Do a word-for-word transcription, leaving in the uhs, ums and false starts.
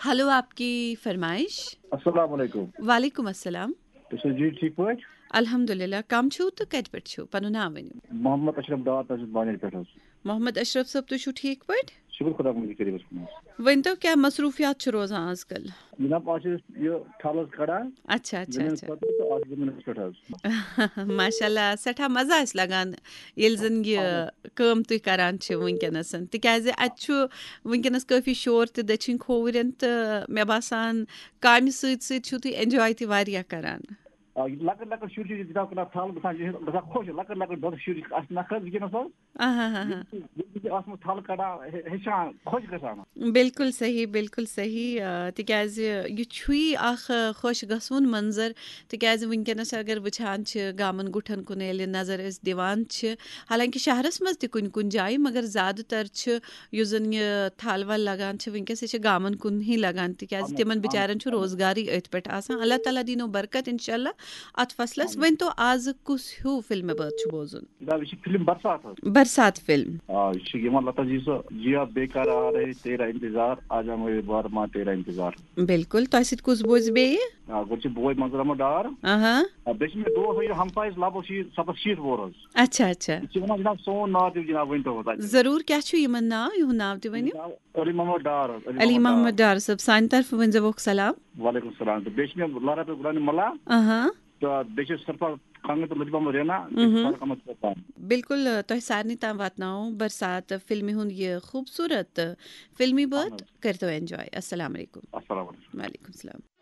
Hello, آپ کی فرمائش۔ السلام علیکم۔ وعلیکم السلام۔ تُہۍ چھِو جی ٹھیٖک پٲٹھۍ؟ الحمدللہ، کم چھِو تہٕ کتہِ پٮ۪ٹھ چھِو؟ پنُن ناو ؤنِو۔ محمد اشرف ڈار، تۄہہِ چھُس بانہِ پٮ۪ٹھ حظ۔ محمد اشرف صٲب، تُہۍ چھِو ٹھیٖک پٲٹھۍ؟ شُکُر خۄدا مُنٛدِس کٔرِتھ کُن حظ۔ ؤنۍ تو، کیٛاہ مصروٗفیات چھِ روزان آز کل؟ جناب، آز چھِ أسۍ یہِ تھل حظ کڑان اچھا اچھا زٔمیٖنَس اچھا۔ خٲطرٕ تہٕ آز چھِ زٔمیٖنَس پٮ۪ٹھ حظ۔ ماشاء اللہ، سٮ۪ٹھاہ مَزٕ آسہِ لگان ییٚلہِ زَن یہِ کٲم تُہۍ کران چھِ وٕنکیٚنَس، تِکیازِ اَتہِ چھُ وٕنکیٚنَس کٲفی شور تہِ دٔچھِنۍ کھووُرٮ۪ن، تہٕ مےٚ باسان کامہِ سۭتۍ سۭتۍ چھِو تُہۍ enjoy تہِ واریاہ کران۔ آ، یہِ لۄکٕٹۍ لۄکٕٹۍ شُرۍ چھِ یہِ جناب کَران تھل گژھان، یہِ چھِ گژھان خۄش، لۄکٕٹۍ لۄکٕٹۍ دۄدٕ شُرۍ چھِ اَسہِ نَکھٕ حظ وٕنکیٚنَس حظ۔ آہا ہا ہا۔ ییٚلہِ تہِ آسان تھل کڑان، ہے-، ہیٚچھان، خۄش گژھان۔ بالکل صحیح، بالکل صحیح، آ، تِکیازِ یہِ چھُے اکھ، آ، خۄش گژھوُن منظر، تِکیازِ وٕنکیٚنَس اگر وٕچھان چھِ گامَن گُٹھَن کُن ییٚلہِ نظر أسۍ دِوان چھِ، حالانکہِ شہرَس منٛز تہِ کُنہِ کُنہِ جایہِ، مگر زیادٕ تر چھِ یُس زَن یہِ تھل ول لگان چھِ وٕنکیٚس، یہِ چھِ گامَن کُنہٕے لگان، تِکیازِ اہن حظ، تِمن اہن حظ، بِچارٮ۪ن چھُ اہن حظ۔ روزگارٕے أتھۍ پٮ۪ٹھ آسان۔ اللہ تعالیٰ دِنو برکت انشاءاللہ اَتھ فصلَس۔ اہن حظ۔ ؤنۍ تو، آزٕ کُس ہیوٗ فِلمہِ بٲتھ چھُ بوزُن؟ جناب، یہِ چھِ فِلم برسات حظ۔ برسات فِلم۔ آ، یہِ چھِ یِوان لتا جی سُہ، جیا بے قرار ہے تیرا انتظار، آجا میرے بار ماں تیرا انتظار۔ بالکل۔ تۄہہِ سۭتۍ کُس بوزِ بیٚیہِ؟ آ، گۄڈٕ چھِ بوے منظور احمد ڈار۔ آہا۔ آ، بیٚیہِ چھِ مےٚ دوس، یہِ ہمسایَس لگ بگ چھِ یہِ ستَتھ شیٖٹھ وُہُر حظ۔ اچھا اچھا۔ یہِ چھِ وَنان جناب سون ناو تہِ جناب ؤنۍ تو حظ اَتہِ۔ ضروٗر، کیٛاہ چھُ یِمن ناو؟ یِہُنٛد ناو تہِ ؤنِو۔ جناب علی محمد ڈار حظ، علی محمد ڈار صٲب، سانہِ طرفہٕ ؤنۍ زیوکھ سلام۔ وعلیکم السلام۔ تہٕ بیٚیہِ چھِ مےٚ لارا پٮ۪ٹھ غلام ملا، آہا۔ تہٕ بیٚیہِ چھِ سرفراز کانگہٕ تہٕ لطیف محمد رینا، مہم۔ فاروق احمد چوپان۔ بالکل، تۄہہِ سارنٕے تام واتناوو برسات فِلمہِ ہُنٛد یہِ خوٗبصوٗرت فِلمی بٲتھ۔ اہن حظ۔ کٔرۍتو enjoy۔ السلام علیکم۔ السلام علیکم۔ وعلیکم السلام۔